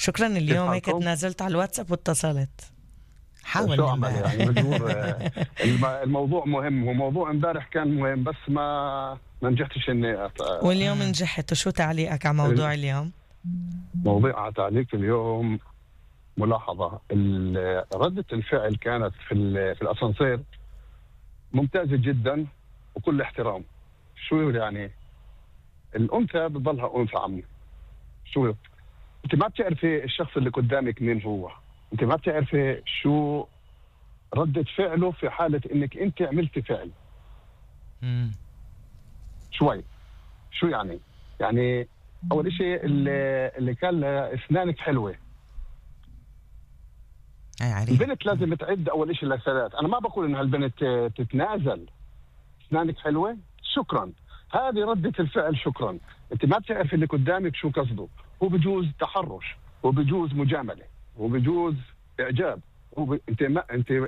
شكرا. اليوم هيك تنازلت على الواتساب واتصلت. حاول شو عمل يعني مجبور. الموضوع مهم، وموضوع امبارح كان مهم بس ما نجحتش اني واليوم نجحت. وشو تعليقك على موضوع اليوم؟ موضوع تعليق اليوم ملاحظة. ردة الفعل كانت في الأسانسير ممتازة جدا وكل احترام. شو يعني الأنثى بتضلها أنثى عمي. شو انت ما بتعرفي الشخص اللي قدامك مين هو، انت ما بتعرفي شو ردة فعله في حالة انك انت عملتي فعل. شوي شو يعني اول اشي اللي كان اسنانك حلوة. البنت لازم تعد اول اشي لثلاث. انا ما بقول ان هالبنت تتنازل. اسنانك حلوة شكرا، هذه ردة الفعل شكرا. انت ما بتعرف اللي قدامك شو قصده. هو بجوز تحرش، وبجوز مجاملة، وبجوز اعجاب.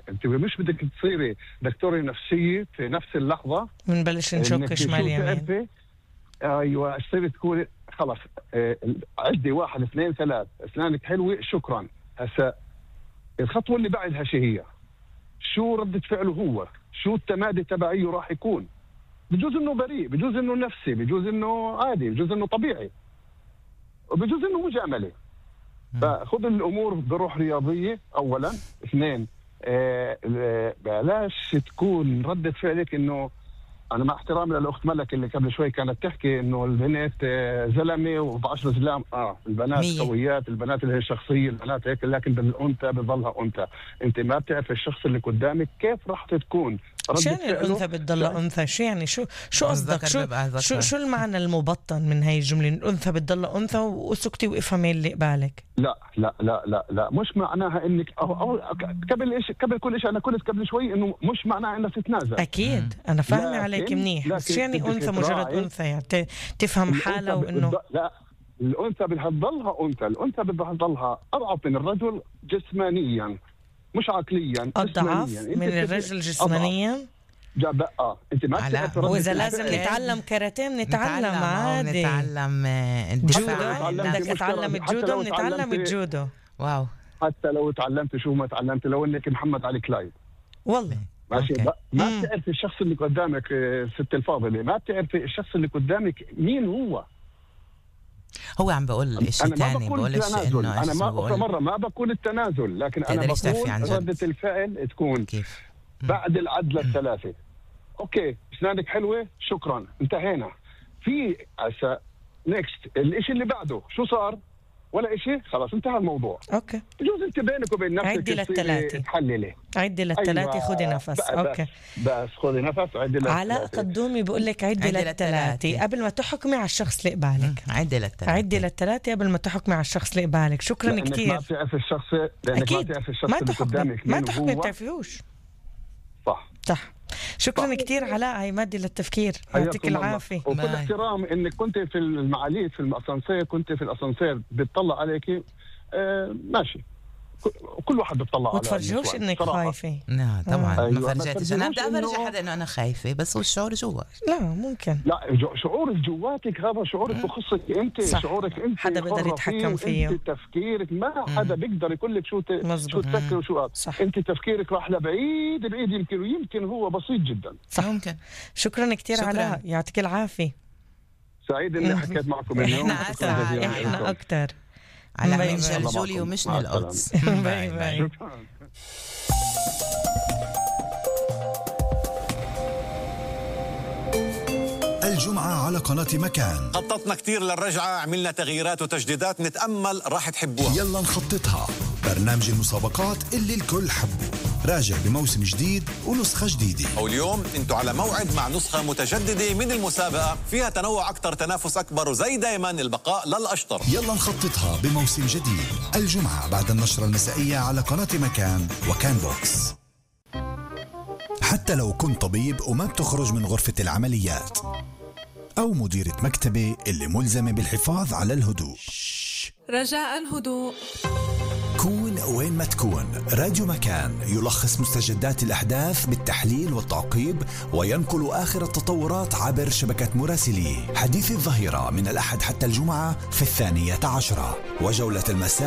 انت مش بدك تصيري دكتورة نفسية في نفس اللحظة بنبلش نشك شمال يمين. ايوه تصيري تكوني خلص عدي 1 2 3 اسنانك حلوة شكرا. هسا الخطوة اللي بعدها شو هي؟ شو ردة فعله هو؟ شو التمادي تبعيه راح يكون؟ بجوز انه بريء، بجوز انه نفسي، بجوز انه عادي، بجوز انه طبيعي، وبجوز انه مجاملة. فخذ الامور بروح رياضية اولا. 2 بلاش تكون ردة فعلك انه انا مع احترامي للاخت ملك اللي قبل شوي كانت تحكي انه البنات زلمه و10 زلام. البنات قويات، البنات اللي هي شخصيه، البنات هيك، لكن بالانثى بتضلها انثى. انت ما بتعرف الشخص اللي قدامك كيف راح تكون شو يعني الانثى بتضلها انثى؟ شو يعني شو قصدك؟ شو المعنى المبطن من هاي الجمله؟ الانثى بتضلها انثى وسكتي وافهمي اللي قبالك. لا لا لا لا لا مش معناها انك قبل كل شيء انا قلت قبل شوي انه مش معناها انك تتنازل. اكيد انا فاهمه عليك منيح، بس يعني انثى مجرد انثى يعني تفهم حالها وانه لا الانثى بدها تضلها انثى. الانثى بدها تضلها اضعف من الرجل جسمانيا مش عقليا. اضعف من الرجل جسمانيا. انت ما بتعرف. واذا لازم نتعلم كاراتيه نتعلم عادي، نتعلم جودو. بدك اتعلم الجودو نتعلم الجودو. واو. حتى لو تعلمت شو ما تعلمت، لو انك محمد علي كلايد والله ماشي. ما بتعرف الشخص اللي قدامك ست الفاضله، ما بتعرف الشخص اللي قدامك مين هو عم بقول شيء ثاني. بقولش انه انا ما بقول التنازل، لكن انا بقول ردة الفعل تكون كيف بعد العدله الثلاثه. اوكي اسنانك حلوه شكرا انتهينا. في نيكست الاشي اللي بعده شو صار؟ ولا إشي، خلاص انتهى الموضوع. اوكي بجوز انت بينك وبين نفسك عدي للثلاثة، تحللي عدي للثلاثة. أيوة. خذي نفس. اوكي بس خذي نفس. عدي للثلاثة. علاء قدومي بقول لك عدي للثلاثة قبل ما تحكمي على الشخص اللي قبالك. عدي للثلاثة قبل ما تحكمي على الشخص اللي قبالك. شكرا كتير. ما بتعرف الشخص، لانك ما بتعرف الشخص اللي قدامك ما تحكمي بتعرفيهوش. صح. شكرا كتير علاء، هاي مادي للتفكير. يعطيك العافية. وكل احترام انك كنت في المعاليد في الاسانسير، كنت في الاسانسير بتطلع عليكي ماشي. كل واحد بتطلع على وتفرجوش انك خايفة. لا طبعا أيوة. ما فرجتش. انا بدي افرج حدا انه انا خايفة، بس هو الشعور جوا. لا ممكن لا شعورك جواتك، هذا شعورك بخصك انت. صح. شعورك انت حدا بيقدر يتحكم فيه. انت تفكيرك ما حدا بيقدر يقول لك شو تفكر وشو صح. انت تفكيرك راح لبعيد يمكن هو بسيط جدا. صح. ممكن. شكرا كتير علاء، يعطيك العافية. سعيد اني حكيت معكم اليوم. احنا اكتر. على من جلجولي ومش من القدس. باي باي. الجمعة على قناة مكان. خططنا كتير للرجعة، عملنا تغييرات وتجديدات، نتأمل راح تحبوها. يلا نخططها. برنامج المسابقات اللي الكل حبه راجع بموسم جديد ونسخة جديدة. واليوم انتوا على موعد مع نسخة متجددة من المسابقة، فيها تنوع أكتر، تنافس أكبر، وزي دايما البقاء للأشطر. يلا نخططها بموسم جديد الجمعة بعد النشرة المسائية على قناة مكان وكان بوكس. حتى لو كنت طبيب وما بتخرج من غرفة العمليات، أو مديرة مكتبة اللي ملزمة بالحفاظ على الهدوء، رجاء هدوء. كون وين ما تكون، راديو مكان يلخص مستجدات الأحداث بالتحليل والتعقيب، وينقل آخر التطورات عبر شبكة مراسليه. حديث الظهيرة من الأحد حتى الجمعة في 12:00، وجولة المساء